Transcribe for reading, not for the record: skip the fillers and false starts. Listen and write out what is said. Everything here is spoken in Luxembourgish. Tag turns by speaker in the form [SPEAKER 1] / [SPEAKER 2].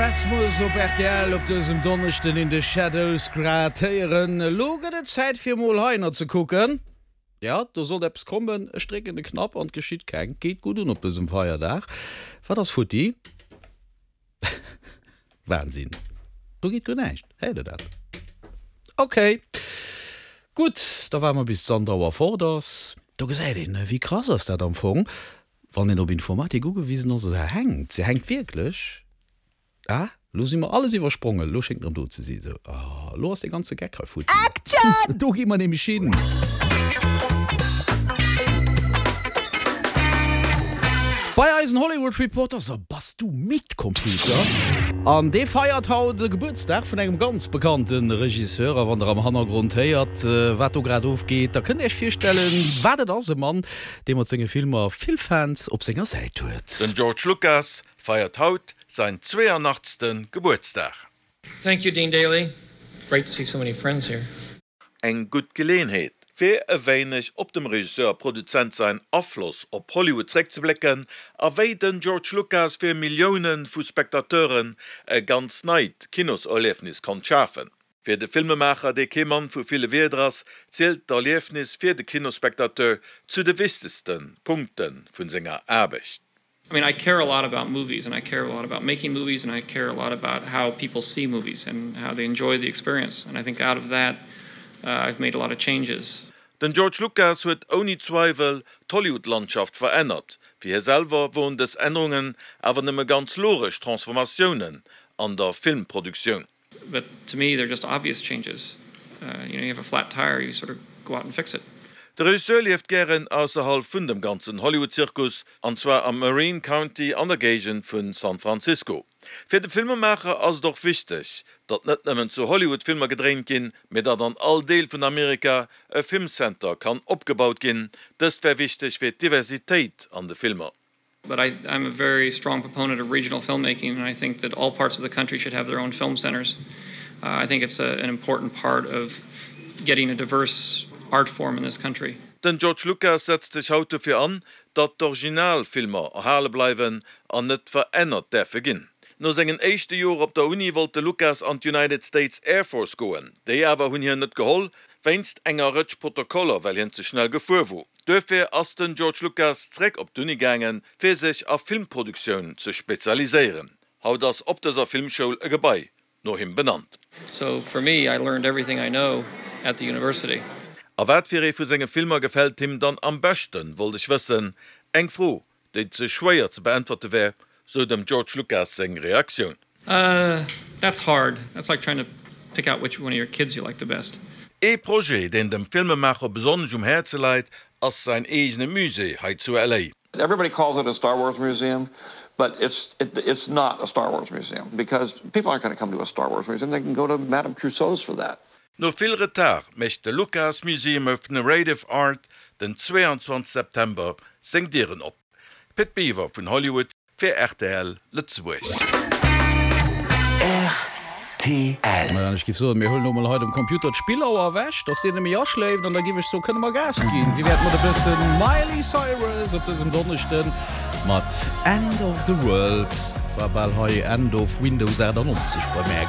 [SPEAKER 1] Rasmus op rtl op dësem Donneschden in the Shadows grad héieren. Elo gëtt et Zäit fir mol heihinner ze kucken. Jo, do sollt eppes kommen. Ech drécken de Knapp an et geschitt keng. Geet gutt un op dësem Feierdag. Wat ass futti? Wahnsinn, do geet guer näischt. Héiert der dat? Ok, gutt, da waarde mer bis d'Sandra Auer fort ass. Do gesäit een, wéi krass ass dat am Fong, wann een op Informatik ugewisen ass. Se hänkt, se hänkt wierklech. Ah, elo si mer alles iwwersprongen, elo schéngt erëm do ze sinn. Sou, ah, elo ass dee ganze Geck hei futti.
[SPEAKER 2] Action!
[SPEAKER 1] Do gi mer nämlech hin. Bei eisen Hollywood Reporter, So, bass du midd, Computer? An dee feiert haut de Gebuertsdag vun engem ganz bekannte Regisseur. A wann der am Hannergrond héiert, wat do grad ofgeet, da kënnt Iech virstellen, wat et ass, e Mann, dee mat senge Filmer vill Fans op senger Säit huet.
[SPEAKER 3] Den George Lucas feiert haut säin 82. Gebuertsdag.
[SPEAKER 4] Thank you Dean Daly, great to see so many friends here.
[SPEAKER 3] Eng gutt Geleeënheet, fir e wéineg op dem Regisseur a Produzent säin Afloss op Hollywood zréckzeblécken a wéi den George Lucas fir Millioune vu Spectateuren e ganz neit Kinoserliefnis konnt schafen. Fir de Filmemaacher, dee kee Mann vu ville Wierder ass, zielt d'Erliefnis fir de Kinospectateur zu de wichtegste Punkte vu senger Aarbecht.
[SPEAKER 4] I mean I care a lot about movies and I care a lot about making movies and I care a lot about how people see movies and how they enjoy the experience and I think out of that uh, I've made a lot of changes.
[SPEAKER 3] Den George Lucas huet ouni Zweiwel d'Hollywood-Landschaft verännert. Fir hie selwer woren dës Ännerungen awer nëmme ganz logesch Transformatiounen an der Filmproduktioun.
[SPEAKER 4] But to me they're just obvious changes. You know, you have a flat tire, you sort of go out and fix it.
[SPEAKER 3] De Regisseur lieft gären ausserhalb vun dem ganzen Hollywood-Zirkus, an zwar am Marin County an der Géigend vun San Francisco. Fir de Filmemaacher ass et och wichteg, datt net nëmmen zu Hollywood Filmer gedréint ginn, mee datt an all Deel vun Amerika e Filmcenter kann opgebaut ginn. Dëst wär wichteg fir d'Diversitéit an de Filmer.
[SPEAKER 4] But I, I'm a very strong proponent of regional filmmaking and I think that all parts of the country should have their own film centers. Uh, I think it's a, an important part of getting a diverse art form in this country.
[SPEAKER 3] Den George Lucas setzt sech haut dofir an, datt d'Originalfilmer erhale bleiwen an net verännert däerfe ginn. No sengen éischte Joer op der Uni wollt de Lucas an d'United States Air Force goen. Déi awer hunn hien net geholl, wéinst enger Rëtsch Protokoller, well hien ze schnell gefuer wor. Duerfir ass den George Lucas zeréck op d'Uni gaangen, fir sech a Filmproduktioun ze spezialiséieren. Haut ass op dëser Filmschoul e Gebai no him benannt.
[SPEAKER 4] So for me, I learned everything I know at the university.
[SPEAKER 3] A wat fir ee vu senge Filmer gefält him dann am beschten, wollt ech wëssen. Eng Fro, déi ze schwéier ze beäntwerte wär, sou dem George Lucas seng Reaktioun.
[SPEAKER 4] Uh, that's hard. That's like trying to pick out which one of your kids you like the best.
[SPEAKER 3] Ee Projet, deen dem Filmemaacher besonnesch um Häerze läit, ass säin eegene Musée hei zu LA.
[SPEAKER 5] Everybody calls it a Star Wars museum, but it's it's not a Star Wars museum because people aren't gonna come to a Star Wars museum, they can go to Madame Tussauds for that.
[SPEAKER 3] No vill Retard mécht de Lucas Museum of Narrative Art den 22 September seng Dieren op. Pit Biwer vun Hollywood fir rtl Lëtzebuerg.
[SPEAKER 1] Rtl. An ech giff soen, mir huelen elo mol hei dem Computer d'Spillauer ewech, dass deen net méi aschléift, an da giff ech soen, kënne mer Gas ginn. Wéi wär et mat e bëssen Miley Cyrus op dësem Donneschden mat End of the World? War bal hei End of Windows 98 bei mär.